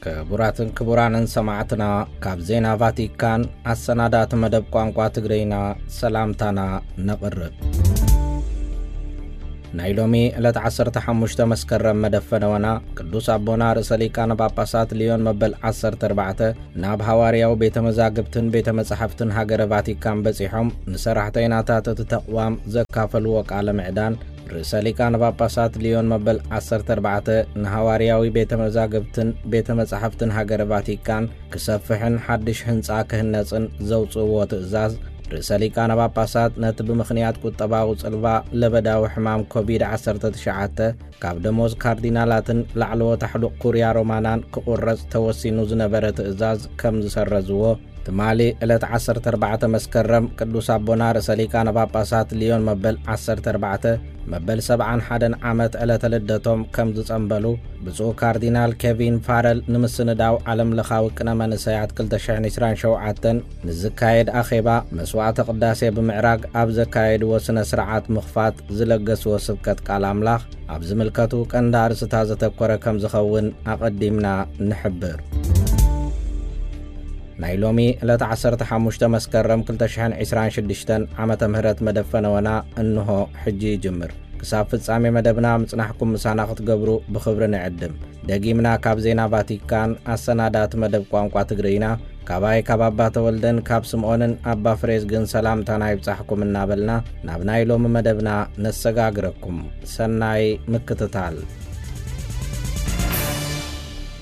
ክቡራትን ክቡራንን ሰማዕትና፣ ካብ ዜና ቫቲካን ኣሰናዳእቲ መደብ ቋንቋ ትግርይና ሰላምታና ነቕርብ። ናይ ሎሚ ዕለት ዓሰርተ ሓሙሽተ መስከረም መደፈነወና ቅዱስ ኣቦና ርእሰ ሊቃነ ጳጳሳት ሊዮን መበል ዓሰርተ ኣርባዕተ ናብ ሃዋርያዊ ቤተ መዛግብትን ቤተ መጻሕፍትን ሃገረ ቫቲካን በጺሖም ንሰራሕተይናታት እቲ ተቕዋም ዘካፈልዎ ቃለ ምዕዳን፣ ርእሰ ሊቃነ ጳጳሳት ሊዮን መበል ዓሰርተ ኣርባዕተ ንሃዋርያዊ ቤተ መዛግብትን ቤተ መጻሕፍትን ሃገረ ቫቲካን ክሰፍሕን ሓድሽ ህንጻ ክህነጽን ዘውጽእዎ ትእዛዝ፣ ርእሰ ሊቃነ ጳጳሳት ነቲ ብምኽንያት ቁጠባዊ ጽልዋ ለበዳዊ ሕማም ኮቪድ ዓሰርተ ትሽዓተ ካብ ደሞዝ ካርዲናላትን ላዕለዎት ኣሕሉቕ ኩርያ ሮማናን ክቑረጽ ተወሲኑ ዝነበረ ትእዛዝ ከም ዝሰረዝዎ፣ ትማሊ ዕለት ዓሰርተ ኣርባዕተ መስከረም ቅዱስ ኣቦና ርእሰ ሊቃነ ጳጳሳት ሊዮን መበል ዓሰርተ ኣርባዕተ መበል ሰብዓን ሓደን ዓመት ዕለተ ልደቶም ከም ዝጸንበሉ፣ ብፁዕ ካርዲናል ኬቪን ፋረል ንምስንዳው ዓለም ለኻዊ ቅነ መንእሰያት ክልተ ሽሕን ዕስራን ሸውዓተን ንዝካየድ ኣኼባ መስዋዕተ ቅዳሴ ብምዕራግ ኣብ ዘካየድዎ ስነ ስርዓት ምኽፋት ዝለገስዎ ስብከት ቃል ኣምላኽ ኣብ ዝምልከቱ ቀንዲ ኣርእስታት ዘተኮረ ከም ዝኸውን ኣቐዲምና ንሕብር። ናይ ሎሚ ዕለት ዓሰርተ ሓሙሽተ መስከረም ክልተ ሽሕን ዕስራን ሽዱሽተን ዓመተ ምህረት መደፈነወና እንሆ ሕጂ ይጅምር። ክሳብ ፍጻሜ መደብና ምጽናሕኩም ምሳና ክትገብሩ ብኽብሪ ንዕድም። ደጊምና ካብ ዜና ቫቲካን ኣሰናዳእቲ መደብ ቋንቋ ትግርይና፣ ካባይ ካብ ኣባ ተወልደን ካብ ስምዖንን ኣባ ፍሬዝግን ሰላምታና ይብጻሕኩም እናበልና ናብ ናይ ሎሚ መደብና ነሰጋግረኩም። ሰናይ ምክትታል።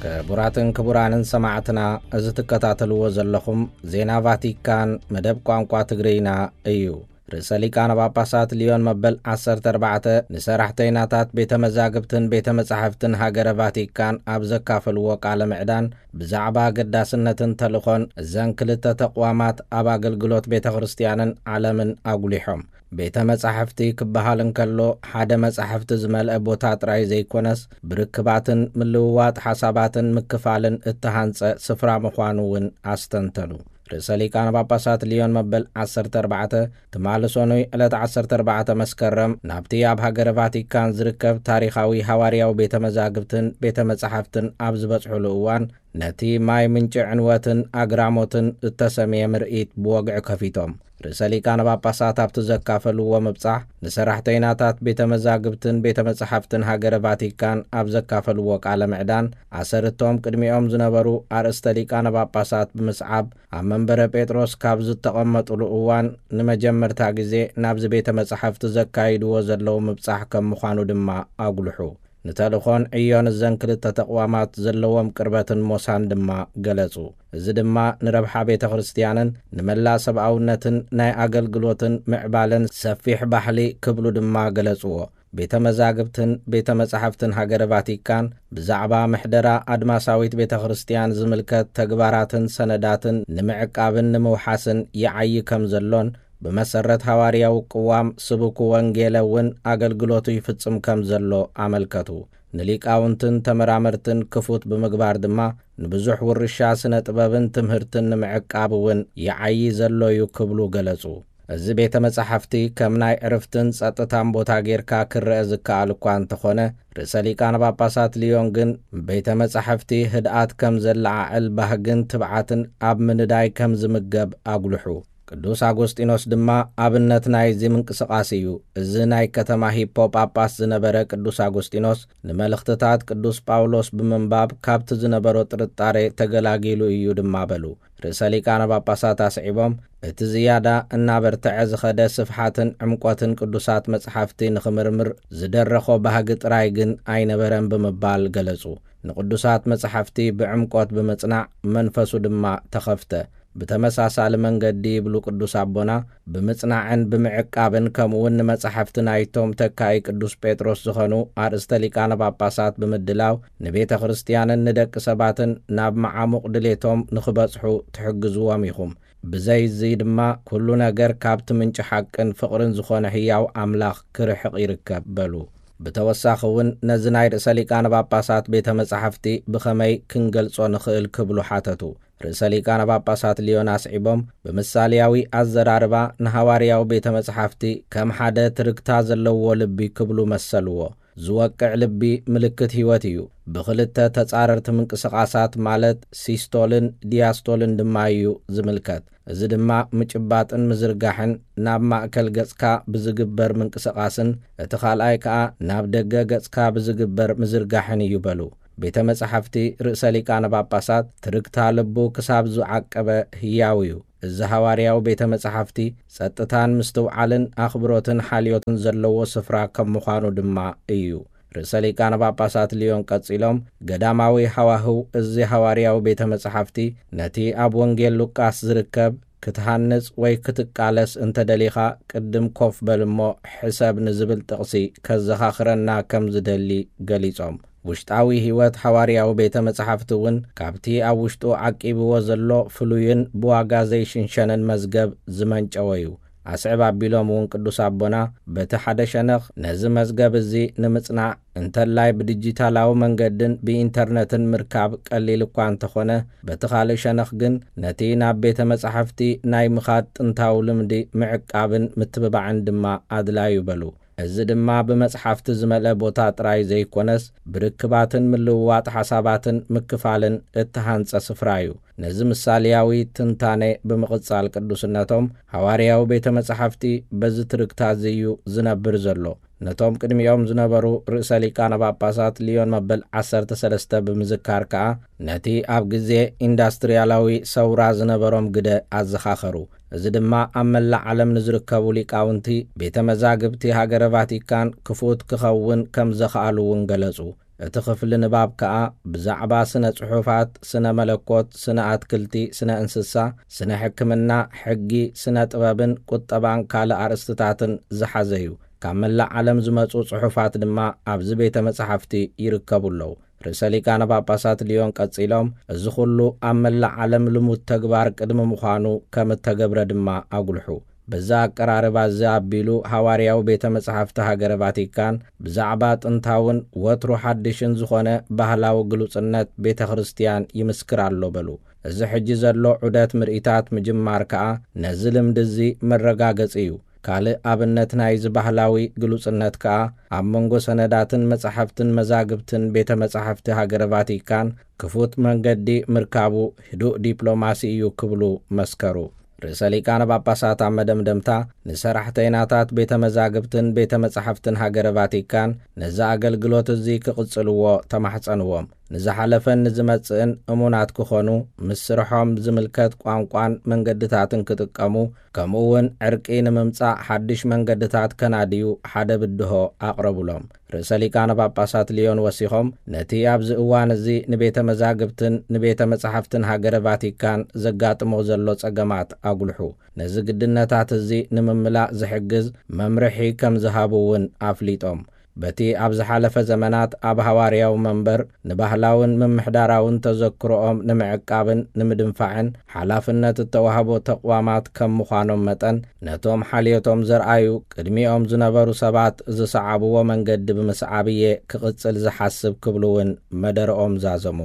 ክቡራትን ክቡራንን ሰማዕትና፣ እዚ ትከታተልዎ ዘለኹም ዜና ቫቲካን መደብ ቋንቋ ትግርይና እዩ። ርእሰ ሊቃነ ጳጳሳት ሊዮን መበል ዓሰርተ ኣርባዕተ ንሰራሕተይናታት ቤተ መዛግብትን ቤተ መጻሕፍትን ሃገረ ቫቲካን ኣብ ዘካፈልዎ ቃለ ምዕዳን፣ ብዛዕባ ኣገዳስነትን ተልእኾን እዘን ክልተ ተቕዋማት ኣብ ኣገልግሎት ቤተ ክርስቲያንን ዓለምን ኣጉሊሖም። ቤተ መጻሕፍቲ ክበሃል እንከሎ፣ ሓደ መጻሕፍቲ ዝመልአ ቦታ ጥራይ ዘይኮነስ፣ ብርክባትን ምልውዋጥ ሓሳባትን ምክፋልን እተሃንጸ ስፍራ ምዃኑ እውን ኣስተንተኑ። ርእሰ ሊቃነ ጳጳሳት ሊዮን መበል ዓሰርተ ኣርባዕተ ትማሊ ሰኑይ ዕለት ዓሰርተ ኣርባዕተ መስከረም ናብቲ ኣብ ሃገረ ቫቲካን ዝርከብ ታሪኻዊ ሃዋርያዊ ቤተ መዛግብትን ቤተ መጻሕፍትን ኣብ ዝበጽሑሉ እዋን፣ ነቲ ማይ ምንጪ ዕንወትን ኣግራሞትን እተሰምየ ምርኢት ብወግዒ ከፊቶም። ርእሰ ሊቃነ ጳጳሳት ኣብቲ ዘካፈልዎ ምብጻሕ፣ ንሰራሕተይናታት ቤተ መዛግብትን ቤተ መጻሕፍትን ሃገረ ቫቲካን ኣብ ዘካፈልዎ ቃለ ምዕዳን፣ ኣሰርቶም ቅድሚኦም ዝነበሩ ኣርእስተ ሊቃነ ጳጳሳት ብምስዓብ፣ ኣብ መንበረ ጴጥሮስ ካብ ዝተቐመጡሉ እዋን ንመጀመርታ ግዜ ናብዚ ቤተ መጻሕፍቲ ዘካይድዎ ዘለዉ ምብጻሕ ከም ምዃኑ ድማ ኣጉልሑ። ንተልእኾን ዕዮን እዘን ክልተ ተቕዋማት ዘለዎም ቅርበትን ሞሳን ድማ ገለጹ። እዚ ድማ ንረብሓ ቤተ ክርስቲያንን ንመላእ ሰብኣውነትን ናይ ኣገልግሎትን ምዕባለን ሰፊሕ ባሕሊ ክብሉ ድማ ገለጽዎ። ቤተ መዛግብትን ቤተ መጻሕፍትን ሃገረ ቫቲካን ብዛዕባ ምሕደራ ኣድማሳዊት ቤተ ክርስቲያን ዝምልከት ተግባራትን ሰነዳትን ንምዕቃብን ንምውሓስን ይዓዪ ከም ዘሎን፣ ብመሰረት ሃዋርያዊ ቅዋም ስቡኩ ወንጌለ እውን ኣገልግሎቱ ይፍጽም ከም ዘሎ ኣመልከቱ። ንሊቃውንትን ተመራመርትን ክፉት ብምግባር ድማ፣ ንብዙሕ ውርሻ ስነ ጥበብን ትምህርትን ንምዕቃብ እውን ይዓዪ ዘሎ እዩ ክብሉ ገለጹ። እዚ ቤተ መጻሕፍቲ ከም ናይ ዕርፍትን ጸጥታን ቦታ ጌርካ ክረአ ዝከኣል እኳ እንተኾነ፣ ርእሰ ሊቃነ ጳጳሳት ሊዮን ግን ቤተ መጻሕፍቲ ህድኣት ከም ዘለዓዕል ባህግን ትብዓትን ኣብ ምንዳይ ከም ዝምገብ ኣጉልሑ። ቅዱስ ኣጎስጢኖስ ድማ ኣብነት ናይዚ ምንቅስቓስ እዩ። እዚ ናይ ከተማ ሂፖ ጳጳስ ዝነበረ ቅዱስ ኣጎስጢኖስ፣ ንመልእኽትታት ቅዱስ ጳውሎስ ብምንባብ ካብቲ ዝነበሮ ጥርጣሬ ተገላጊሉ እዩ ድማ በሉ። ርእሰ ሊቃነ ጳጳሳት ኣስዒቦም፣ እቲ ዝያዳ እናበርትዐ ዝኸደ ስፍሓትን ዕምቆትን ቅዱሳት መጽሓፍቲ ንኽምርምር ዝደረኾ ባህጊ ጥራይ ግን ኣይነበረን ብምባል ገለጹ። ንቅዱሳት መጽሓፍቲ ብዕምቆት ብምጽናዕ መንፈሱ ድማ ተኸፍተ። ብተመሳሳሊ መንገዲ ይብሉ ቅዱስ ኣቦና፣ ብምጽናዕን ብምዕቃብን ከምኡውን ንመጻሕፍቲ ናይቶም ተካኢ ቅዱስ ጴጥሮስ ዝኾኑ ኣርእስተ ሊቃነ ጳጳሳት ብምድላው ንቤተ ክርስቲያንን ንደቂ ሰባትን ናብ መዓሙቕ ድሌቶም ንኽበጽሑ ትሕግዝዎም ኢኹም። ብዘይ እዚ ድማ ኩሉ ነገር ካብቲ ምንጪ ሓቅን ፍቕርን ዝኾነ ህያው ኣምላኽ ክርሕቕ ይርከብ በሉ። ብተወሳኺ እውን ነዚ ናይ ርእሰ ሊቃነ ጳጳሳት ቤተ መጻሕፍቲ ብኸመይ ክንገልጾ ንኽእል ክብሉ ሓተቱ። ርእሰ ሊቃነ ጳጳሳት ሊዮን ኣስዒቦም፣ ብምሳልያዊ ኣዘራርባ ንሃዋርያዊ ቤተ መጻሕፍቲ ከም ሓደ ትርግታ ዘለዎ ልቢ ክብሉ መሰልዎ። ዝወቅዕ ልቢ ምልክት ህይወት እዩ። ብኽልተ ተጻረርቲ ምንቅስቓሳት ማለት ሲስቶልን ዲያስቶልን ድማ እዩ ዝምልከት። እዚ ድማ ምጭባጥን ምዝርጋሕን ናብ ማእከል ገጽካ ብዝግበር ምንቅስቓስን እቲ ካልኣይ ከኣ ናብ ደገ ገጽካ ብዝግበር ምዝርጋሕን እዩ በሉ። ቤተ መጻሕፍቲ ርእሰ ሊቃነ ጳጳሳት ትርግታ ልቡ ክሳብ ዝዓቀበ ህያው እዩ። እዚ ሃዋርያዊ ቤተ መጻሕፍቲ ጸጥታን ምስትውዓልን ኣኽብሮትን ሓልዮትን ዘለዎ ስፍራ ከም ምዃኑ ድማ እዩ። ርእሰ ሊቃነ ጳጳሳት ልዮን ቀጺሎም፣ ገዳማዊ ሃዋህው እዚ ሃዋርያዊ ቤተ መጻሕፍቲ ነቲ ኣብ ወንጌል ሉቃስ ዝርከብ ክትሃንጽ ወይ ክትቃለስ እንተ ደሊኻ ቅድም ኮፍ በል እሞ ሕሰብ ንዝብል ጥቕሲ ከዘኻኽረና ከም ዝደሊ ገሊጾም። ውሽጣዊ ህይወት ሃዋርያዊ ቤተ መጻሕፍቲ እውን ካብቲ ኣብ ውሽጡ ዓቂብዎ ዘሎ ፍሉይን ብዋጋ ዘይሽንሸንን መዝገብ ዝመንጨወ እዩ። ኣስዕብ ኣቢሎም እውን ቅዱስ ኣቦና በቲ ሓደ ሸነኽ ነዚ መዝገብ እዚ ንምጽናዕ እንተላይ ብዲጂታላዊ መንገድን ብኢንተርነትን ምርካብ ቀሊል እኳ እንተኾነ፣ በቲ ካልእ ሸነኽ ግን ነቲ ናብ ቤተ መጻሕፍቲ ናይ ምኻድ ጥንታዊ ልምዲ ምዕቃብን ምትብባዕን ድማ ኣድላዩ በሉ። እዚ ድማ ብመጽሓፍቲ ዝመልአ ቦታ ጥራይ ዘይኮነስ፣ ብርክባትን ምልውዋጥ ሓሳባትን ምክፋልን እተሃንጸ ስፍራ እዩ። ነዚ ምሳልያዊ ትንታነ ብምቕጻል ቅዱስነቶም፣ ሃዋርያዊ ቤተ መጻሕፍቲ በዚ ትርግታ እዚ እዩ ዝነብር ዘሎ። ነቶም ቅድሚኦም ዝነበሩ ርእሰ ሊቃነ ጳጳሳት ልዮን መበል ዓሰርተ ሰለስተ ብምዝካር ከኣ፣ ነቲ ኣብ ግዜ ኢንዳስትርያላዊ ሰውራ ዝነበሮም ግደ ኣዘኻኸሩ። እዚ ድማ ኣብ መላእ ዓለም ንዝርከቡ ሊቃውንቲ ቤተ መዛግብቲ ሃገረ ቫቲካን ክፉት ክኸውን ከም ዘኽኣሉ እውን ገለጹ። እቲ ክፍሊ ንባብ ከኣ ብዛዕባ ስነ ጽሑፋት፣ ስነ መለኮት፣ ስነ ኣትክልቲ፣ ስነ እንስሳ፣ ስነ ሕክምና፣ ሕጊ፣ ስነ ጥበብን ቁጠባን ካልእ ኣርእስትታትን ዝሓዘ እዩ። ካብ መላእ ዓለም ዝመጹ ጽሑፋት ድማ ኣብዚ ቤተ መጻሕፍቲ ይርከቡ ኣለዉ። ርእሰ ሊቃነ ጳጳሳት ልዮን ቀጺሎም፣ እዚ ኹሉ ኣብ መላእ ዓለም ልሙድ ተግባር ቅድሚ ምዃኑ ከም እተገብረ ድማ ኣጉልሑ። በዚ ኣቀራርባ እዚ ኣቢሉ ሃዋርያዊ ቤተ መጻሕፍቲ ሃገረ ቫቲካን ብዛዕባ ጥንታውን ወትሩ ሓድሽን ዝኾነ ባህላዊ ግሉጽነት ቤተ ክርስቲያን ይምስክር ኣሎ በሉ። እዚ ሕጂ ዘሎ ዑደት ምርኢታት ምጅማር ከኣ ነዚ ልምዲ እዚ መረጋገጺ እዩ። ካልእ ኣብነት ናይዚ ባህላዊ ግሉጽነት ከኣ ኣብ መንጎ ሰነዳትን መጻሕፍትን መዛግብትን ቤተ መጻሕፍቲ ሃገረ ቫቲካን ክፉት መንገዲ ምርካቡ ህዱእ ዲፕሎማሲ እዩ ክብሉ መስከሩ። ርእሰ ሊቃነ ጳጳሳት ኣብ መደምደምታ ንሰራሕተይናታት ቤተ መዛግብትን ቤተ መጻሕፍትን ሃገረ ቫቲካን ነዚ ኣገልግሎት እዚ ክቕጽልዎ ተማሕጸንዎም። ንዝሓለፈን ንዝመጽእን እሙናት ክኾኑ፣ ምስ ስርሖም ዝምልከት ቋንቋን መንገድታትን ክጥቀሙ፣ ከምኡ እውን ዕርቂ ንምምጻእ ሓድሽ መንገድታት ከናድዩ ሓደ ብድሆ ኣቕረቡሎም። ርእሰ ሊቃነ ጳጳሳት ልዮን ወሲኾም፣ ነቲ ኣብዚ እዋን እዚ ንቤተ መዛግብትን ንቤተ መጻሕፍትን ሃገረ ቫቲካን ዘጋጥሞ ዘሎ ጸገማት ኣጉልሑ። ነዚ ግድነታት እዚ ንምምላእ ዝሕግዝ መምርሒ ከም ዝሃቡ እውን ኣፍሊጦም። በቲ ኣብ ዝሓለፈ ዘመናት ኣብ ሃዋርያዊ መንበር ንባህላውን ምምሕዳራውን ተዘክሮኦም ንምዕቃብን ንምድንፋዕን ሓላፍነት እተዋህቦ ተቕዋማት ከም ምዃኖም መጠን፣ ነቶም ሓልዮቶም ዘርኣዩ ቅድሚኦም ዝነበሩ ሰባት ዝሰዓብዎ መንገዲ ብምስዓብ እየ ክቕጽል ዝሓስብ ክብሉ እውን መደረኦም ዛዘሙ።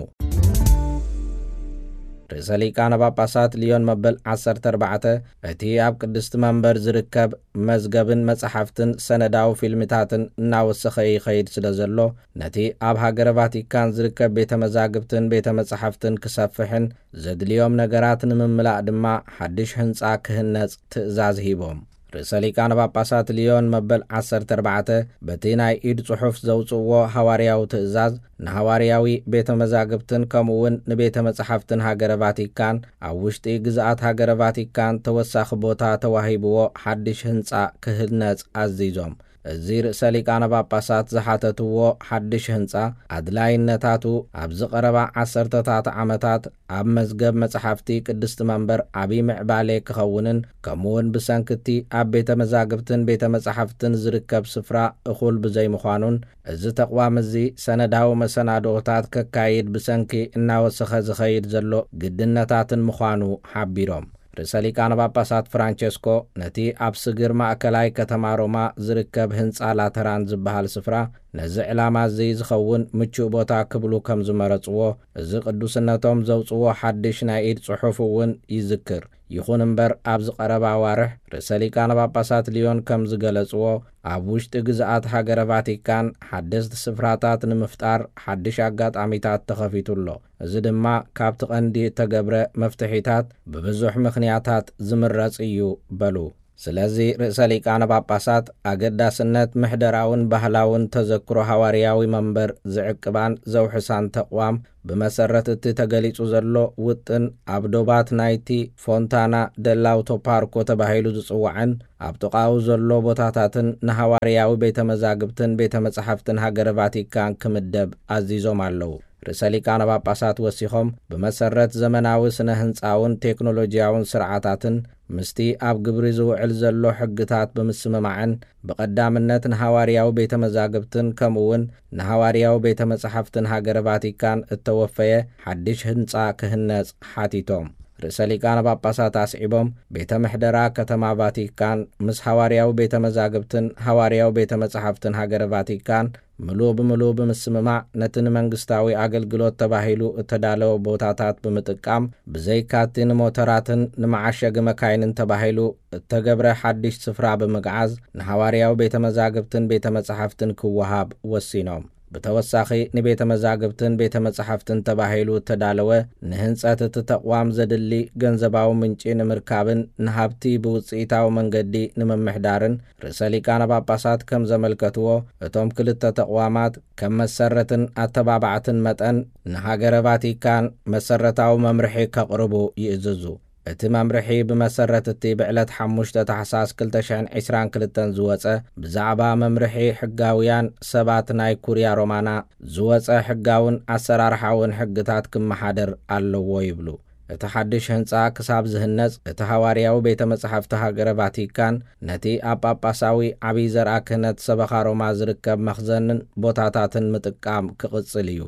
ርእሰ ሊቃነ ጳጳሳት ልዮን መበል ዓሰርተ ኣርባዕተ እቲ ኣብ ቅድስቲ መንበር ዝርከብ መዝገብን መጻሕፍትን ሰነዳዊ ፊልምታትን እናወሰኸ ይኸይድ ስለ ዘሎ፣ ነቲ ኣብ ሃገረ ቫቲካን ዝርከብ ቤተ መዛግብትን ቤተ መጻሕፍትን ክሰፍሕን ዘድልዮም ነገራት ንምምላእ ድማ ሓድሽ ህንጻ ክህነጽ ትእዛዝ ሂቦም። ርእሰ ሊቃነ ጳጳሳት ልዮን መበል ዓሰርተ ኣርባዕተ በቲ ናይ ኢድ ጽሑፍ ዘውጽእዎ ሃዋርያዊ ትእዛዝ ንሃዋርያዊ ቤተ መዛግብትን ከምኡ እውን ንቤተ መጻሕፍትን ሃገረ ቫቲካን ኣብ ውሽጢ ግዝኣት ሃገረ ቫቲካን ተወሳኺ ቦታ ተዋሂብዎ ሓድሽ ህንጻ ክህነጽ ኣዚዞም። እዚ ርእሰ ሊቃነ ጳጳሳት ዝሓተትዎ ሓድሽ ህንጻ ኣድላይነታቱ ኣብዚ ቀረባ ዓሰርተታት ዓመታት ኣብ መዝገብ መጻሕፍቲ ቅድስቲ መንበር ዓቢ ምዕባሌ ክኸውንን ከምኡውን ብሰንክቲ ኣብ ቤተ መዛግብትን ቤተ መጻሕፍትን ዝርከብ ስፍራ እኹል ብዘይምዃኑን እዚ ተቕዋም እዚ ሰነዳዊ መሰናድኦታት ከካይድ ብሰንኪ እናወሰኸ ዝኸይድ ዘሎ ግድነታትን ምዃኑ ሓቢሮም። ርእሰ ሊቃነ ጳጳሳት ፍራንቸስኮ ነቲ ኣብ ስግር ማእከላይ ከተማ ሮማ ዝርከብ ህንጻ ላተራን ዝበሃል ስፍራ ነዚ ዕላማ እዚ ዝኸውን ምቹእ ቦታ ክብሉ ከም ዝመረጽዎ እዚ ቅዱስነቶም ዘውጽዎ ሓድሽ ናይ ኢድ ጽሑፍ እውን ይዝክር። ይኹን እምበር፣ ኣብዚ ቀረባ ኣዋርሕ ርእሰ ሊቃነ ጳጳሳት ሊዮን ከም ዝገለጽዎ፣ ኣብ ውሽጢ ግዝኣት ሃገረ ቫቲካን ሓደስቲ ስፍራታት ንምፍጣር ሓድሽ ኣጋጣሚታት ተኸፊቱ ኣሎ። እዚ ድማ ካብቲ ቀንዲ እተገብረ መፍትሒታት ብብዙሕ ምኽንያታት ዝምረጽ እዩ በሉ። ስለዚ ርእሰ ሊቃነ ጳጳሳት ኣገዳስነት ምሕደራውን ባህላውን ተዘክሮ ሃዋርያዊ መንበር ዝዕቅባን ዘውሕሳን ተቕዋም፣ ብመሰረት እቲ ተገሊጹ ዘሎ ውጥን፣ ኣብ ዶባት ናይቲ ፎንታና ደላውቶ ፓርኮ ተባሂሉ ዝጽዋዕን ኣብ ጥቓኡ ዘሎ ቦታታትን ንሃዋርያዊ ቤተ መዛግብትን ቤተ መጻሕፍትን ሃገረ ቫቲካን ክምደብ ኣዚዞም ኣለዉ። ርእሰ ሊቃነ ጳጳሳት ወሲኾም፣ ብመሰረት ዘመናዊ ስነ ህንጻውን ቴክኖሎጂያውን ስርዓታትን ምስቲ ኣብ ግብሪ ዝውዕል ዘሎ ሕግታት ብምስምማዕን ብቐዳምነት ንሃዋርያዊ ቤተ መዛግብትን ከምኡውን ንሃዋርያዊ ቤተ መጻሕፍትን ሃገረ ቫቲካን እተወፈየ ሓድሽ ህንጻ ክህነጽ ሓቲቶም። ርእሰ ሊቃነ ጳጳሳት ኣስዒቦም፣ ቤተ ምሕደራ ከተማ ቫቲካን ምስ ሃዋርያዊ ቤተ መዛግብትን ሃዋርያዊ ቤተ መጻሕፍትን ሃገረ ቫቲካን ምሉእ ብምሉእ ብምስምማዕ፣ ነቲ ንመንግስታዊ ኣገልግሎት ተባሂሉ እተዳለወ ቦታታት ብምጥቃም፣ ብዘይካቲ ንሞተራትን ንመዓሸጊ መካይንን ተባሂሉ እተገብረ ሓድሽ ስፍራ ብምግዓዝ፣ ንሃዋርያዊ ቤተ መዛግብትን ቤተ መጻሕፍትን ክወሃብ ወሲኖም። ብተወሳኺ፣ ንቤተ መዛግብትን ቤተ መጻሕፍትን ተባሂሉ እተዳለወ ንህንጸት እቲ ተቕዋም ዘድሊ ገንዘባዊ ምንጪ ንምርካብን ንሃብቲ ብውጽኢታዊ መንገዲ ንምምሕዳርን፣ ርእሰ ሊቃነ ጳጳሳት ከም ዘመልከትዎ፣ እቶም ክልተ ተቕዋማት ከም መሰረትን ኣተባባዕትን መጠን፣ ንሃገረ ቫቲካን መሰረታዊ መምርሒ ከቕርቡ ይእዝዙ። እቲ መምርሒ ብመሰረት እቲ ብዕለት ሓሙሽተ ታሕሳስ ክልተ ሽሕን ዕስራን ክልተን ዝወጸ ብዛዕባ መምርሒ ሕጋውያን ሰባት ናይ ኩርያ ሮማና ዝወጸ ሕጋውን ኣሰራርሓውን ሕግታት ክመሓደር ኣለዎ ይብሉ። እቲ ሓድሽ ህንጻ ክሳብ ዝህነጽ፣ እቲ ሃዋርያዊ ቤተ መጻሕፍቲ ሃገረ ቫቲካን ነቲ ኣብ ጳጳሳዊ ዓብዪ ዘርኣ ክህነት ሰበኻ ሮማ ዝርከብ መኽዘንን ቦታታትን ምጥቃም ክቕጽል እዩ።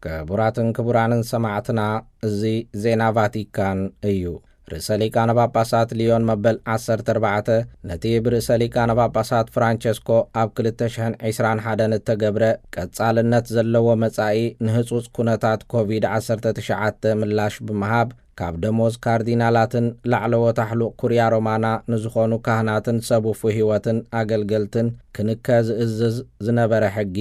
ክቡራትን ክቡራንን ሰማዕትና፣ እዚ ዜና ቫቲካን እዩ። ርእሰ ሊቃነ ጳጳሳት ሊዮን መበል ዓሰርተ ኣርባዕተ ነቲ ብርእሰ ሊቃነ ጳጳሳት ፍራንቸስኮ ኣብ ክልተ ሽሕን ዕስራን ሓደን እተገብረ ቀጻልነት ዘለዎ መጻኢ ንህጹጽ ኩነታት ኮቪድ ዓሰርተ ትሽዓተ ምላሽ ብምሃብ፣ ካብ ደሞዝ ካርዲናላትን ላዕለዎት ኣሕሉቕ ኩርያ ሮማና ንዝኾኑ ካህናትን ሰብ ውፉይ ህይወትን ኣገልገልትን ክንከ ዝእዝዝ ዝነበረ ሕጊ፣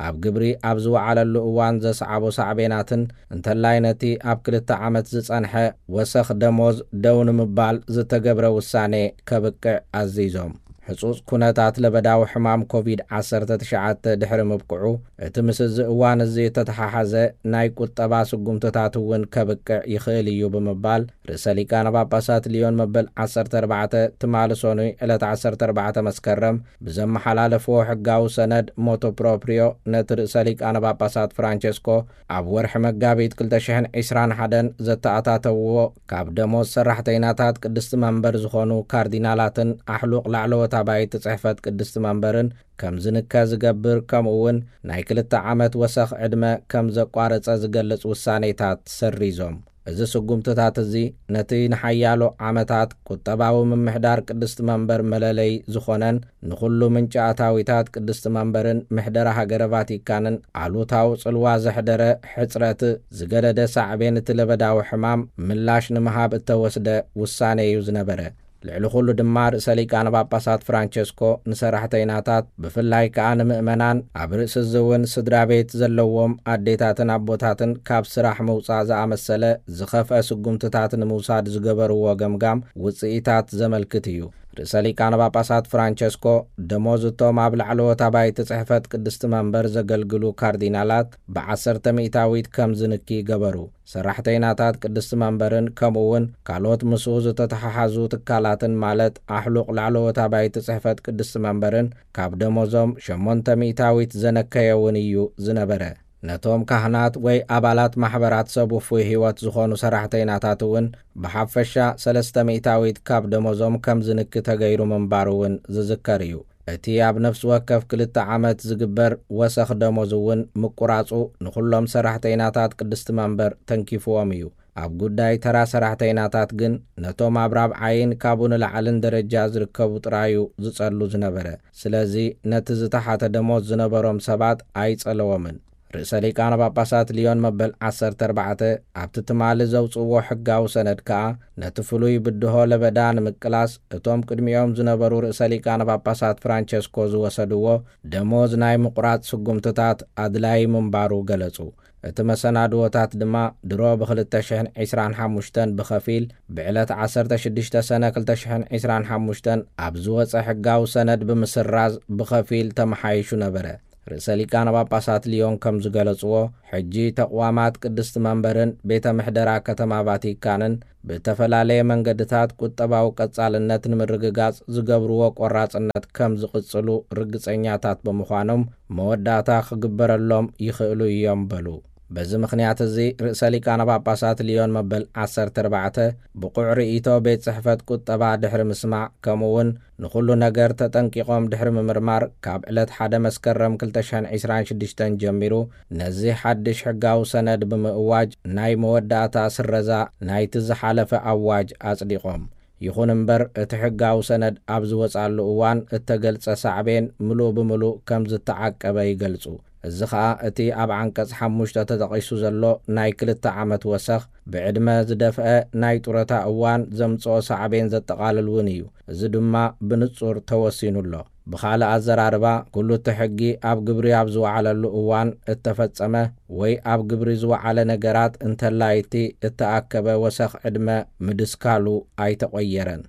ኣብ ግብሪ ኣብ ዝወዓለሉ እዋን ዘስዓቦ ሳዕቤናትን፣ እንተላይ ነቲ ኣብ ክልተ ዓመት ዝጸንሐ ወሰኽ ደሞዝ ደው ንምባል ዝተገብረ ውሳኔ ከብቅዕ ኣዚዞም። ሕጹጽ ኩነታት ለበዳዊ ሕማም ኮቪድ ዓሰርተ ትሽዓተ ድሕሪ ምብቅዑ፣ እቲ ምስ እዚ እዋን እዚ እተተሓሓዘ ናይ ቁጠባ ስጉምትታት እውን ከብቅዕ ይኽእል እዩ ብምባል፣ ርእሰ ሊቃነ ጳጳሳት ሊዮን መበል ዓሰርተ ኣርባዕተ ትማሊ ሰኑይ ዕለት ዓሰርተ ኣርባዕተ መስከረም ብዘመሓላለፍዎ ሕጋዊ ሰነድ ሞቶ ፕሮፕሪዮ ነቲ ርእሰ ሊቃነ ጳጳሳት ፍራንቸስኮ ኣብ ወርሒ መጋቢት ክልተ ሽሕን ዕስራን ሓደን ዘተኣታተውዎ፣ ካብ ደሞዝ ሰራሕተይናታት ቅድስቲ መንበር ዝኾኑ ካርዲናላትን ኣሕሉቕ ላዕለዎት ኣባይቲ ጽሕፈት ቅድስቲ መንበርን ከም ዝንከ ዝገብር፣ ከምኡ እውን ናይ ክልተ ዓመት ወሰኽ ዕድመ ከም ዘቋረጸ ዝገልጽ ውሳኔታት ሰሪዞም። እዚ ስጉምትታት እዚ ነቲ ንሓያሎ ዓመታት ቁጠባዊ ምምሕዳር ቅድስቲ መንበር መለለይ ዝኾነን ንኹሉ ምንጪ ኣታዊታት ቅድስቲ መንበርን ምሕደራ ሃገረ ቫቲካንን ኣሉታዊ ጽልዋ ዘሕደረ ሕጽረት ዝገደደ ሳዕቤን እቲ ለበዳዊ ሕማም ምላሽ ንምሃብ እተወስደ ውሳኔ እዩ ዝነበረ። ልዕሊ ኩሉ ድማ ርእሰ ሊቃነ ጳጳሳት ፍራንቸስኮ ንሰራሕተይናታት፣ ብፍላይ ከኣ ንምእመናን፣ ኣብ ርእሲ እዚ እውን ስድራ ቤት ዘለዎም ኣዴታትን ኣቦታትን ካብ ስራሕ ምውጻእ ዝኣመሰለ ዝኸፍአ ስጉምትታት ንምውሳድ ዝገበርዎ ገምጋም ውጽኢታት ዘመልክት እዩ። ርእሰ ሊቃነ ጳጳሳት ፍራንቸስኮ ደሞዝ እቶም ኣብ ላዕለዎት ኣባይቲ ጽሕፈት ቅድስቲ መንበር ዘገልግሉ ካርዲናላት ብዓሰርተ ሚእታዊት ከም ዝንኪ ገበሩ። ሰራሕተይናታት ቅድስቲ መንበርን ከምኡ እውን ካልኦት ምስኡ ዝተተሓሓዙ ትካላትን፣ ማለት ኣሕሉቕ ላዕለዎት ኣባይቲ ጽሕፈት ቅድስቲ መንበርን፣ ካብ ደሞዞም ሸሞንተ ሚእታዊት ዘነከየ እውን እዩ ዝነበረ። ነቶም ካህናት ወይ ኣባላት ማሕበራት ሰብ ውፉይ ህይወት ዝኾኑ ሰራሕተይናታት እውን ብሓፈሻ ሰለስተ ሚእታዊት ካብ ደሞዞም ከም ዝንኪ ተገይሩ ምንባሩ እውን ዝዝከር እዩ። እቲ ኣብ ነፍሲ ወከፍ ክልተ ዓመት ዝግበር ወሰኽ ደሞዝ እውን ምቁራጹ ንኹሎም ሰራሕተይናታት ቅድስቲ መንበር ተንኪፍዎም እዩ። ኣብ ጉዳይ ተራ ሰራሕተይናታት ግን፣ ነቶም ኣብ ራብዓይን ካብኡ ንላዕልን ደረጃ ዝርከቡ ጥራዩ ዝጸሉ ዝነበረ። ስለዚ ነቲ ዝተሓተ ደሞዝ ዝነበሮም ሰባት ኣይጸለዎምን። ርእሰ ሊቃነ ጳጳሳት ሊዮን መበል ዓሰርተ ኣርባዕተ ኣብቲ ትማሊ ዘውፅእዎ ሕጋዊ ሰነድ ከኣ፣ ነቲ ፍሉይ ብድሆ ለበዳ ንምቅላስ እቶም ቅድሚኦም ዝነበሩ ርእሰ ሊቃነ ጳጳሳት ፍራንቸስኮ ዝወሰድዎ ደሞዝ ናይ ምቑራጽ ስጉምትታት ኣድላዪ ምንባሩ ገለጹ። እቲ መሰናድዎታት ድማ ድሮ ብ ክልተ ሽሕን ዕስራን ሓሙሽተን ብኸፊል፣ ብዕለት ዓሰርተ ሽዱሽተ ሰነ ክልተ ሽሕን ዕስራን ሓሙሽተን ኣብ ዝወጸ ሕጋዊ ሰነድ ብምስራዝ ብኸፊል ተመሓይሹ ነበረ። ርእሰ ሊቃነ ጳጳሳት ሊዮን ከም ዝገለጽዎ፣ ሕጂ ተቕዋማት ቅድስቲ መንበርን ቤተ ምሕደራ ከተማ ቫቲካንን ብእተፈላለየ መንገድታት ቁጠባዊ ቀጻልነት ንምርግጋጽ ዝገብርዎ ቆራጽነት ከም ዝቕጽሉ ርግጸኛታት ብምዃኖም፣ መወዳእታ ክግበረሎም ይኽእሉ እዮም በሉ። በዚ ምኽንያት እዚ፣ ርእሰ ሊቃነ ጳጳሳት ሊዮን መበል ዓሰርተ ኣርባዕተ ብቑዕ ርእይቶ ቤት ጽሕፈት ቁጠባ ድሕሪ ምስማዕ፣ ከምኡ እውን ንኹሉ ነገር ተጠንቂቖም ድሕሪ ምምርማር፣ ካብ ዕለት ሓደ መስከረም ክልተ ሽሕን ዕስራን ሽዱሽተን ጀሚሩ ነዚ ሓድሽ ሕጋዊ ሰነድ ብምእዋጅ፣ ናይ መወዳእታ ስረዛ ናይቲ ዝሓለፈ ኣዋጅ ኣጽዲቖም። ይኹን እምበር፣ እቲ ሕጋዊ ሰነድ ኣብ ዝወጻሉ እዋን እተገልጸ ሳዕቤን ምሉእ ብምሉእ ከም ዝተዓቀበ ይገልጹ። እዚ ኸኣ፣ እቲ ኣብ ዓንቀጽ ሓሙሽተ ተጠቒሱ ዘሎ ናይ ክልተ ዓመት ወሰኽ፣ ብዕድመ ዝደፍአ ናይ ጡረታ እዋን ዘምጽኦ ሳዕቤን ዘጠቓልል እውን እዩ። እዚ ድማ ብንጹር ተወሲኑ ኣሎ። ብኻልእ ኣዘራርባ፣ ኩሉ እቲ ሕጊ ኣብ ግብሪ ኣብ ዝወዓለሉ እዋን እተፈጸመ ወይ ኣብ ግብሪ ዝወዓለ ነገራት እንተላይ እቲ እተኣከበ ወሰኽ ዕድመ ምድስካሉ ኣይተቖየረን።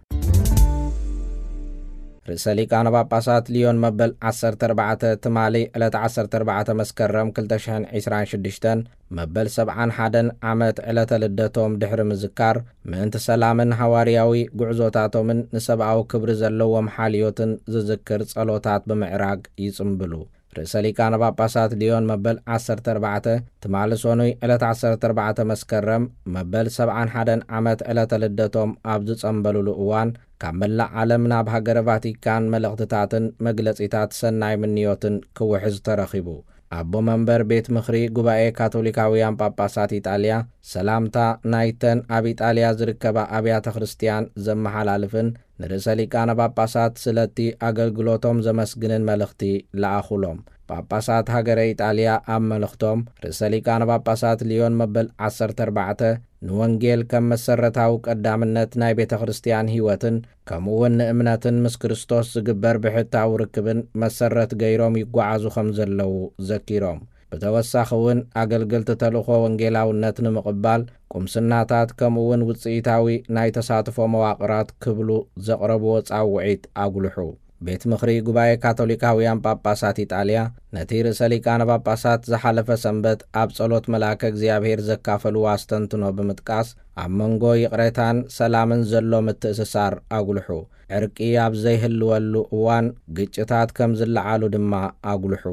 ርእሰ ሊቃነ ጳጳሳት ሊዮን መበል ዓሰርተ ኣርባዕተ ትማሊ ዕለት ዓሰርተ ኣርባዕተ መስከረም ክልተ ሽሕን ዕስራን ሽዱሽተን መበል ሰብዓን ሓደን ዓመት ዕለተ ልደቶም ድሕሪ ምዝካር፣ ምእንቲ ሰላምን ሃዋርያዊ ጉዕዞታቶምን ንሰብኣዊ ክብሪ ዘለዎም ሓልዮትን ዝዝክር ጸሎታት ብምዕራግ ይጽምብሉ። ርእሰ ሊቃነ ጳጳሳት ሊዮን መበል ዓሰርተ ኣርባዕተ ትማሊ ሰኑይ ዕለት ዓሰርተ ኣርባዕተ መስከረም መበል ሰብዓን ሓደን ዓመት ዕለተ ልደቶም ኣብ ዝጸምበሉሉ እዋን፣ ካብ መላእ ዓለም ናብ ሃገረ ቫቲካን መልእኽትታትን መግለጺታት ሰናይ ምንዮትን ክውሕዝ ተረኺቡ። ኣቦ መንበር ቤት ምኽሪ ጉባኤ ካቶሊካውያን ጳጳሳት ኢጣልያ፣ ሰላምታ ናይተን ኣብ ኢጣልያ ዝርከባ ኣብያተ ክርስትያን ዘመሓላልፍን ንርእሰ ሊቃነ ጳጳሳት ስለቲ ኣገልግሎቶም ዘመስግንን መልእኽቲ ለኣኹሎም። ጳጳሳት ሃገረ ኢጣልያ ኣብ መልእኽቶም፣ ርእሰ ሊቃነ ጳጳሳት ሊዮን መበል ዓሰርተ ኣርባዕተ ንወንጌል ከም መሰረታዊ ቀዳምነት ናይ ቤተ ክርስትያን ህይወትን ከምኡውን ንእምነትን ምስ ክርስቶስ ዝግበር ብሕታዊ ርክብን መሰረት ገይሮም ይጓዓዙ ከም ዘለዉ ዘኪሮም። ብተወሳኺ እውን፣ ኣገልገልቲ ተልእኾ ወንጌላውነት ንምቕባል፣ ቁምስናታት ከምኡውን ውጽኢታዊ ናይ ተሳትፎ መዋቕራት ክብሉ ዘቕረብዎ ጻውዒት ኣጉልሑ። ቤት ምኽሪ ጉባኤ ካቶሊካውያን ጳጳሳት ኢጣልያ፣ ነቲ ርእሰ ሊቃነ ጳጳሳት ዝሓለፈ ሰንበት ኣብ ጸሎት መልኣከ እግዚኣብሔር ዘካፈልዎ ኣስተንትኖ ብምጥቃስ፣ ኣብ መንጎ ይቕሬታን ሰላምን ዘሎ ምትእስሳር ኣጉልሑ። ዕርቂ ኣብ ዘይህልወሉ እዋን፣ ግጭታት ከም ዝለዓሉ ድማ ኣጉልሑ።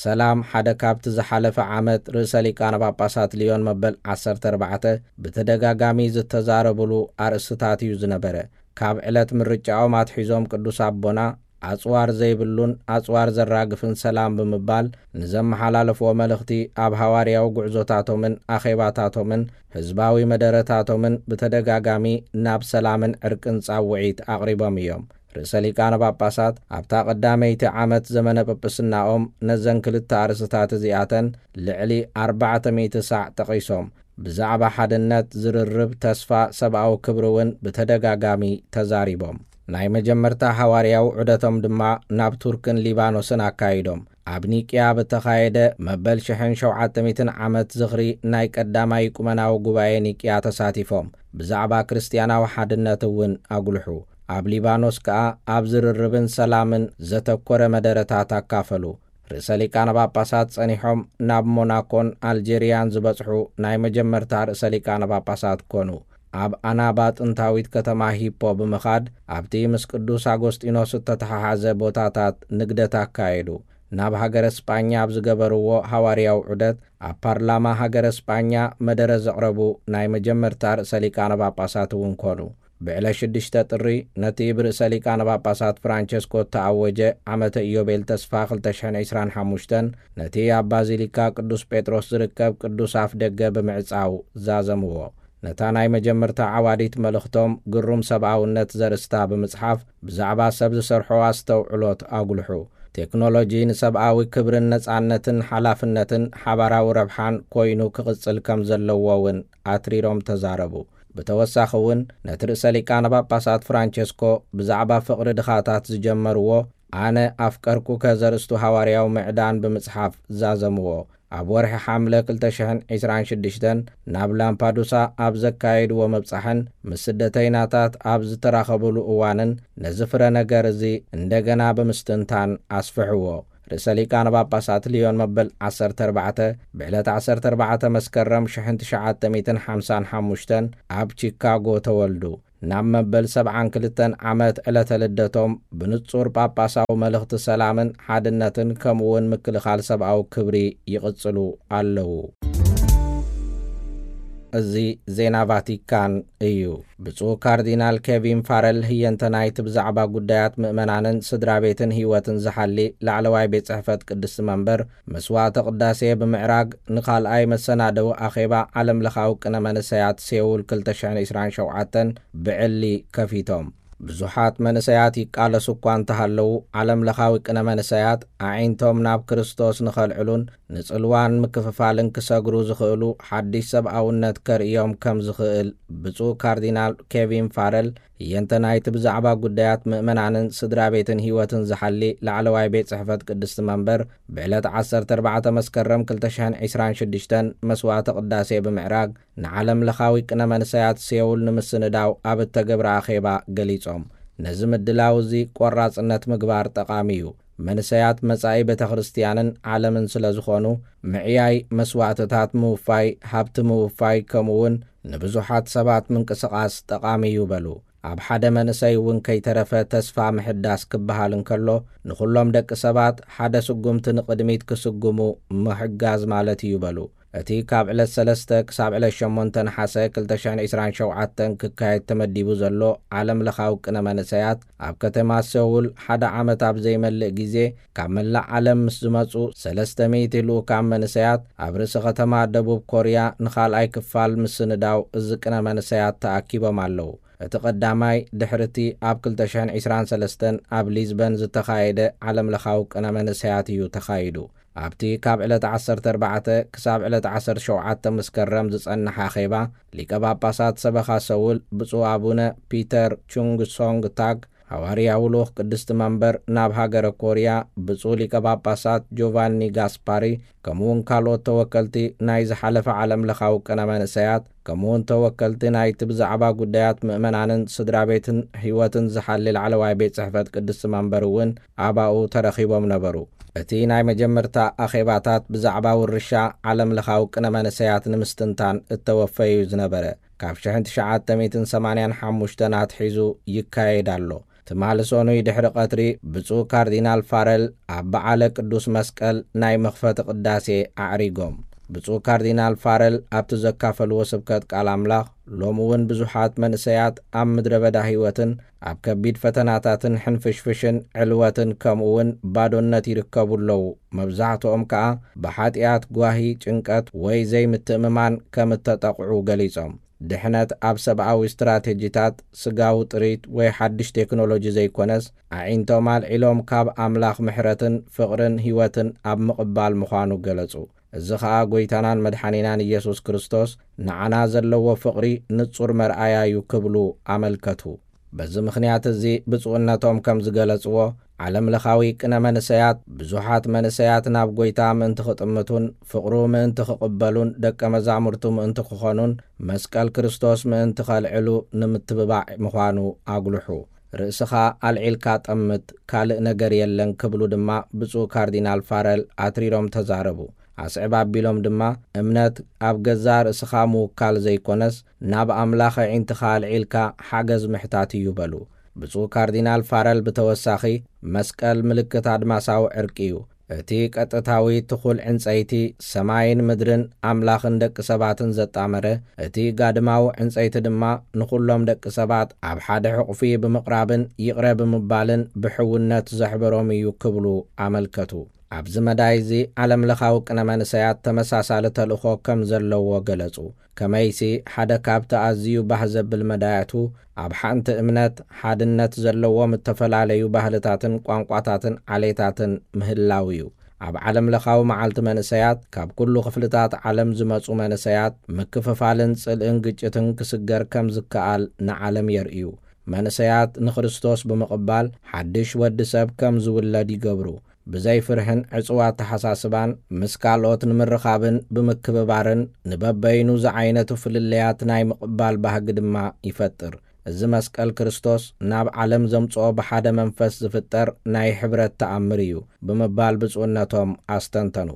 ሰላም ሓደ ካብቲ ዝሓለፈ ዓመት ርእሰ ሊቃነ ጳጳሳት ሊዮን መበል ዓሰርተ ኣርባዕተ ብተደጋጋሚ ዝተዛረብሉ ኣርእስትታት እዩ ዝነበረ። ካብ ዕለት ምርጫኦም ኣትሒዞም ቅዱስ ኣቦና፣ ኣጽዋር ዘይብሉን ኣጽዋር ዘራግፍን ሰላም ብምባል ንዘመሓላለፍዎ መልእኽቲ፣ ኣብ ሃዋርያዊ ጉዕዞታቶምን ኣኼባታቶምን ህዝባዊ መደረታቶምን ብተደጋጋሚ ናብ ሰላምን ዕርቅን ጻውዒት ኣቕሪቦም እዮም። ርእሰ ሊቃነ ጳጳሳት ኣብታ ቀዳመይቲ ዓመት ዘመነ ጵጵስናኦም ነዘን ክልተ ኣርእስትታት እዚኣተን ልዕሊ ኣርባዕተ ሚእቲ ሳዕ ጠቒሶም፣ ብዛዕባ ሓድነት፣ ዝርርብ፣ ተስፋ፣ ሰብኣዊ ክብሪ እውን ብተደጋጋሚ ተዛሪቦም። ናይ መጀመርታ ሃዋርያዊ ዑደቶም ድማ ናብ ቱርክን ሊባኖስን ኣካይዶም። ኣብ ኒቅያ ብተኻየደ መበል ሽሕን ሸውዓተ ሚእትን ዓመት ዝኽሪ ናይ ቀዳማይ ኢቁመናዊ ጉባኤ ኒቅያ ተሳቲፎም፣ ብዛዕባ ክርስትያናዊ ሓድነት እውን ኣጉልሑ። ኣብ ሊባኖስ ከኣ ኣብ ዝርርብን ሰላምን ዘተኮረ መደረታት ኣካፈሉ። ርእሰ ሊቃነ ጳጳሳት ጸኒሖም ናብ ሞናኮን ኣልጀርያን ዝበጽሑ ናይ መጀመርታ ርእሰ ሊቃነ ጳጳሳት ኮኑ። ኣብ ኣናባ ጥንታዊት ከተማ ሂፖ ብምኻድ፣ ኣብቲ ምስ ቅዱስ ኣጎስጢኖስ እተተሓሓዘ ቦታታት ንግደት ኣካየዱ። ናብ ሃገረ ስጳኛ ኣብ ዝገበርዎ ሃዋርያዊ ዑደት፣ ኣብ ፓርላማ ሃገረ ስጳኛ መደረ ዘቕረቡ ናይ መጀመርታ ርእሰ ሊቃነ ጳጳሳት እውን ኮኑ። ብዕለት ሽዱሽተ ጥሪ፣ ነቲ ብርእሰ ሊቃነ ጳጳሳት ፍራንቸስኮ እተኣወጀ ዓመተ ኢዮቤል ተስፋ ክልተ ሽሕን ዕስራን ሓሙሽተን፣ ነቲ ኣብ ባዚሊካ ቅዱስ ጴጥሮስ ዝርከብ ቅዱስ ኣፍ ደገ ብምዕጻው ዛዘምዎ። ነታ ናይ መጀመርታ ዓዋዲት መልእኽቶም፣ ግሩም ሰብኣውነት ዘርእስታ ብምጽሓፍ፣ ብዛዕባ ሰብ ዝሰርሖ ኣስተውዕሎት ኣጉልሑ። ቴክኖሎጂ ንሰብኣዊ ክብርን ነጻነትን ሓላፍነትን ሓባራዊ ረብሓን ኮይኑ ክቕጽል ከም ዘለዎ እውን ኣትሪሮም ተዛረቡ። ብተወሳኺ እውን ነቲ ርእሰ ሊቃነ ጳጳሳት ፍራንቸስኮ ብዛዕባ ፍቕሪ ድኻታት ዝጀመርዎ ኣነ ኣፍቀርኩከ ዘርእስቱ ሃዋርያዊ ምዕዳን ብምጽሓፍ ዛዘምዎ። ኣብ ወርሒ ሓምለ ክልተ ሽሕን ዕስራን ሽዱሽተን ናብ ላምፓዱሳ ኣብ ዘካየድዎ ምብጻሕን ምስ ስደተይናታት ኣብ ዝተራኸብሉ እዋንን ነዚ ፍረ ነገር እዚ እንደገና ብምስትንታን ኣስፍሕዎ። ርእሰ ሊቃነ ጳጳሳት ሊዮን መበል ዓሰርተ ኣርባዕተ ብዕለት ዓሰርተ ኣርባዕተ መስከረም ሽሕን ትሽዓተ ሚእትን ሓምሳን ሓሙሽተን ኣብ ቺካጎ ተወልዱ። ናብ መበል ሰብዓን ክልተን ዓመት ዕለተ ልደቶም ብንጹር ጳጳሳዊ መልእኽቲ ሰላምን ሓድነትን ከምኡውን ምክልኻል ሰብኣዊ ክብሪ ይቕጽሉ ኣለዉ። እዚ ዜና ቫቲካን እዩ። ብፁዕ ካርዲናል ኬቪን ፋረል ህየንተ ናይቲ ብዛዕባ ጉዳያት ምእመናንን ስድራ ቤትን ህይወትን ዝሓሊ ላዕለዋይ ቤት ጽሕፈት ቅድስቲ መንበር መስዋዕተ ቅዳሴ ብምዕራግ ንኻልኣይ መሰናደዊ ኣኼባ ዓለም ለኻዊ ቅነ መንእሰያት ሴውል ክልተ ሽሕን ዕስራን ሸውዓተን ብዕሊ ከፊቶም። ብዙሓት መንእሰያት ይቃለሱ እኳ እንተሃለዉ፣ ዓለም ለኻዊ ቅነ መንእሰያት ኣዒንቶም ናብ ክርስቶስ ንኸልዕሉን ንጽልዋን ምክፍፋልን ክሰግሩ ዝኽእሉ ሓድሽ ሰብኣውነት ከርእዮም ከም ዝኽእል ብፁዕ ካርዲናል ኬቪን ፋረል ህየንተ ናይቲ ብዛዕባ ጉዳያት ምእመናንን ስድራ ቤትን ህይወትን ዝሓሊ ላዕለዋይ ቤት ጽሕፈት ቅድስቲ መንበር ብዕለት ዓሰርተ ኣርባዕተ መስከረም ክልተ ሽሕን ዕስራን ሽዱሽተን መስዋዕተ ቅዳሴ ብምዕራግ ንዓለም ለኻዊ ቅነ መንእሰያት ሴውል ንምስንዳው ኣብ እተገብረ ኣኼባ ገሊጾም። ነዚ ምድላው እዚ ቆራጽነት ምግባር ጠቓሚ እዩ። መንእሰያት መጻኢ ቤተ ክርስቲያንን ዓለምን ስለ ዝኾኑ ምዕያይ መስዋዕትታት ምውፋይ፣ ሃብቲ ምውፋይ ከምኡ እውን ንብዙሓት ሰባት ምንቅስቓስ ጠቓሚ እዩ በሉ። ኣብ ሓደ መንእሰይ እውን ከይተረፈ ተስፋ ምሕዳስ ክበሃል እንከሎ ንኹሎም ደቂ ሰባት ሓደ ስጉምቲ ንቕድሚት ክስጉሙ ምሕጋዝ ማለት እዩ በሉ። እቲ ካብ ዕለት ሰለስተ ክሳብ ዕለት ሸሞንተ ነሓሰ ክልተ ሽሕን ዕስራን ሸውዓተን ክካየድ ተመዲቡ ዘሎ ዓለም ለኻዊ ቅነ መንእሰያት ኣብ ከተማ ሴውል ሓደ ዓመት ኣብ ዘይመልእ ግዜ ካብ መላእ ዓለም ምስ ዝመጹ ሰለስተ ሚእቲ ልኡካን መንእሰያት ኣብ ርእሲ ከተማ ደቡብ ኮርያ ንኻልኣይ ክፋል ምስንዳው እዚ ቅነ መንእሰያት ተኣኪቦም ኣለዉ። እቲ ቀዳማይ ድሕሪ እቲ ኣብ ክልተ ሽሕን ዕስራን ሰለስተን ኣብ ሊዝበን ዝተኻየደ ዓለም ለኻዊ ቅነ መንእሰያት እዩ ተኻይዱ። ኣብቲ ካብ ዕለት ዓሰርተ ኣርባዕተ ክሳብ ዕለት ዓሰርተ ሸውዓተ መስከረም ዝጸንሕ ኣኼባ ሊቀ ጳጳሳት ሰበኻ ሰውል ብፁዕ ኣቡነ ፒተር ቹንግ ሶንግ ታግ፣ ሃዋርያዊ ልኡኽ ቅድስቲ መንበር ናብ ሃገረ ኮርያ ብፁዕ ሊቀ ጳጳሳት ጆቫኒ ጋስፓሪ ከምኡ እውን ካልኦት ተወከልቲ ናይ ዝሓለፈ ዓለም ለኻዊ ቅነ መንእሰያት ከምኡ እውን ተወከልቲ ናይቲ ብዛዕባ ጉዳያት ምእመናንን ስድራ ቤትን ህይወትን ዝሓሊ ላዕለዋይ ቤት ጽሕፈት ቅድስቲ መንበር እውን ኣባኡ ተረኺቦም ነበሩ። እቲ ናይ መጀመርታ ኣኼባታት ብዛዕባ ውርሻ ዓለም ለኻዊ ቅነ መንእሰያት ንምስትንታን እተወፈዩ ዝነበረ ካብ ሽሕን ትሽዓተ ሚእትን ሰማንያን ሓሙሽተን ኣትሒዙ ይካየድ ኣሎ። ትማሊ ሰኑይ ድሕሪ ቀትሪ ብፁዕ ካርዲናል ፋረል ኣብ በዓለ ቅዱስ መስቀል ናይ መኽፈቲ ቅዳሴ ኣዕሪጎም። ብፁዕ ካርዲናል ፋረል ኣብቲ ዘካፈልዎ ስብከት ቃል ኣምላኽ ሎሚ እውን ብዙሓት መንእሰያት ኣብ ምድረ በዳ ህይወትን ኣብ ከቢድ ፈተናታትን ሕንፍሽፍሽን ዕልወትን ከምኡ እውን ባዶነት ይርከቡ ኣለዉ። መብዛሕትኦም ከኣ ብሓጢኣት፣ ጓሂ፣ ጭንቀት ወይ ዘይምትእምማን ከም እተጠቕዑ ገሊጾም። ድሕነት ኣብ ሰብኣዊ ስትራቴጂታት፣ ስጋዊ ጥሪት ወይ ሓድሽ ቴክኖሎጂ ዘይኮነስ ኣዒንቶም ኣልዒሎም ካብ ኣምላኽ ምሕረትን ፍቕርን ህይወትን ኣብ ምቕባል ምዃኑ ገለጹ። እዚ ኸኣ ጐይታናን መድሓኒናን ኢየሱስ ክርስቶስ ንዓና ዘለዎ ፍቕሪ ንጹር መርኣያ እዩ ክብሉ ኣመልከቱ። በዚ ምኽንያት እዚ ብፁዕነቶም ከም ዝገለጽዎ ዓለም ለኻዊ ቅነ መንእሰያት ብዙሓት መንእሰያት ናብ ጐይታ ምእንቲ ክጥምቱን ፍቕሩ ምእንቲ ክቕበሉን ደቀ መዛሙርቱ ምእንቲ ክኾኑን መስቀል ክርስቶስ ምእንቲ ከልዕሉ ንምትብባዕ ምዃኑ ኣጉልሑ። ርእስኻ ኣልዒልካ ጠምት፣ ካልእ ነገር የለን ክብሉ ድማ ብፁዕ ካርዲናል ፋረል ኣትሪሮም ተዛረቡ። ኣስዕብ ኣቢሎም ድማ እምነት ኣብ ገዛእ ርእስኻ ምውካል ዘይኮነስ ናብ ኣምላኽ ኣዒንትኻ ኣልዒልካ ሓገዝ ምሕታት እዩ በሉ። ብፁዕ ካርዲናል ፋረል ብተወሳኺ መስቀል ምልክት ኣድማሳዊ ዕርቂ እዩ። እቲ ቀጥታዊ ትኹል ዕንጸይቲ ሰማይን ምድርን ኣምላኽን ደቂ ሰባትን ዘጣመረ፣ እቲ ጋድማዊ ዕንጸይቲ ድማ ንኹሎም ደቂ ሰባት ኣብ ሓደ ሕቑፊ ብምቕራብን ይቕረ ብምባልን ብሕውነት ዘሕበሮም እዩ ክብሉ ኣመልከቱ። ኣብዚ መዳይ እዚ ዓለም ለኻዊ ቅነ መንሰያት ተመሳሳሊ ተልእኾ ከም ዘለዎ ገለጹ። ከመይሲ ሓደ ካብቲ ኣዝዩ ባህ ዘብል መዳያቱ ኣብ ሓንቲ እምነት ሓድነት ዘለዎም እተፈላለዩ ባህልታትን ቋንቋታትን ዓሌታትን ምህላው እዩ። ኣብ ዓለም ለኻዊ መዓልቲ መንሰያት ካብ ኩሉ ክፍልታት ዓለም ዝመጹ መንሰያት ምክፍፋልን ጽልእን ግጭትን ክስገር ከም ዝከኣል ንዓለም የርእዩ። መንሰያት ንክርስቶስ ብምቕባል ሓድሽ ወዲ ሰብ ከም ዝውለድ ይገብሩ። ብዘይ ፍርህን ዕጽዋ ኣተሓሳስባን ምስ ካልኦት ንምርኻብን ብምክብባርን ንበበይኑ ዝዓይነቱ ፍልልያት ናይ ምቕባል ባህጊ ድማ ይፈጥር። እዚ መስቀል ክርስቶስ ናብ ዓለም ዘምጽኦ ብሓደ መንፈስ ዝፍጠር ናይ ሕብረት ተኣምር እዩ ብምባል ብፁዕነቶም ኣስተንተኑ።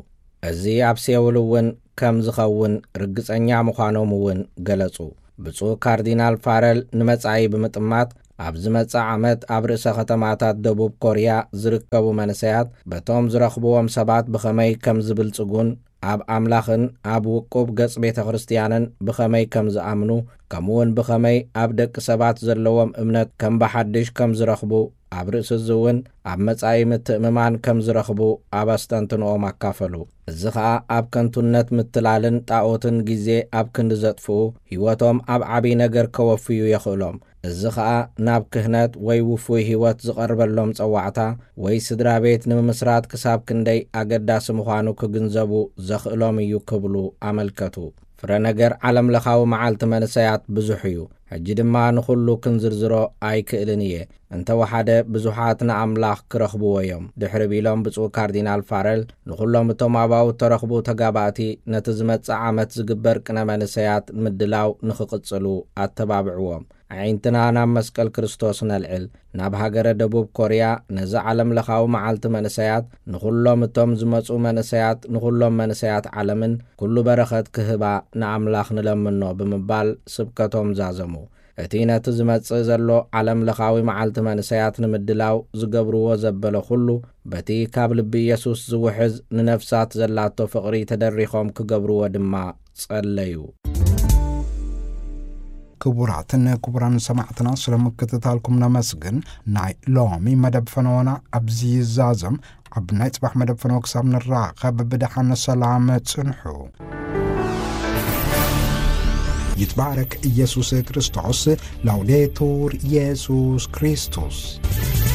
እዚ ኣብ ሴውል እውን ከም ዝኸውን ርግጸኛ ምዃኖም እውን ገለጹ። ብፁዕ ካርዲናል ፋረል ንመጻኢ ብምጥማት ኣብ ዝመጽእ ዓመት ኣብ ርእሰ ከተማታት ደቡብ ኮርያ ዝርከቡ መንሰያት በቶም ዝረኽብዎም ሰባት ብኸመይ ከም ዝብልጽጉን ኣብ ኣምላኽን ኣብ ውቁብ ገጽ ቤተ ክርስቲያንን ብኸመይ ከም ዝኣምኑ፣ ከምኡውን ብኸመይ ኣብ ደቂ ሰባት ዘለዎም እምነት ከም ብሓድሽ ከም ዝረኽቡ፣ ኣብ ርእሲ እዚ እውን ኣብ መጻኢ ምትእምማን ከም ዝረኽቡ ኣብ ኣስተንትንኦም ኣካፈሉ። እዚ ኸኣ ኣብ ከንቱነት ምትላልን ጣኦትን ግዜ ኣብ ክንዲ ዘጥፍኡ፣ ህይወቶም ኣብ ዓቢ ነገር ከወፍዩ የኽእሎም። እዚ ኸኣ ናብ ክህነት ወይ ውፉይ ህይወት ዝቐርበሎም ጸዋዕታ ወይ ስድራ ቤት ንምምስራት ክሳብ ክንደይ ኣገዳሲ ምዃኑ ክግንዘቡ ዘኽእሎም እዩ ክብሉ ኣመልከቱ። ፍረ ነገር ዓለም ለኻዊ መዓልቲ መንሰያት ብዙሕ እዩ። ሕጂ ድማ ንኹሉ ክንዝርዝሮ ኣይክእልን እየ። እንተወሓደ ብዙሓት ንኣምላኽ ክረኽብዎ እዮም። ድሕሪ ቢሎም ብፁዕ ካርዲናል ፋረል ንኹሎም እቶም ኣባው እተረኽቡ ተጋባእቲ ነቲ ዝመጽእ ዓመት ዝግበር ቅነ መንሰያት ምድላው ንኽቕጽሉ ኣተባብዕዎም። ኣዒንትና ናብ መስቀል ክርስቶስ ነልዕል። ናብ ሃገረ ደቡብ ኮርያ ነዚ ዓለም ለኻዊ መዓልቲ መንሰያት ንኹሎም እቶም ዝመጹ መንሰያት ንኹሎም መንሰያት ዓለምን ኩሉ በረኸት ክህባ ንኣምላኽ ንለምኖ ብምባል ስብከቶም ዛዘሙ። እቲ ነቲ ዝመጽእ ዘሎ ዓለም ለኻዊ መዓልቲ መንሰያት ንምድላው ዝገብርዎ ዘበለ ኩሉ በቲ ካብ ልቢ ኢየሱስ ዝውሕዝ ንነፍሳት ዘላቶ ፍቕሪ ተደሪኾም ክገብርዎ ድማ ጸለዩ። ክቡራትን ክቡራን ሰማዕትና ስለ ምክትታልኩም ነመስግን። ናይ ሎሚ መደብ ፈነወና ኣብዚ ይዛዘም። ኣብ ናይ ጽባሕ መደብ ፈነወ ክሳብ ንራኸብ ብደሓን ሰላም ጽንሑ። ይትባረክ ኢየሱስ ክርስቶስ። ላውዴቱር ኢየሱስ ክርስቶስ።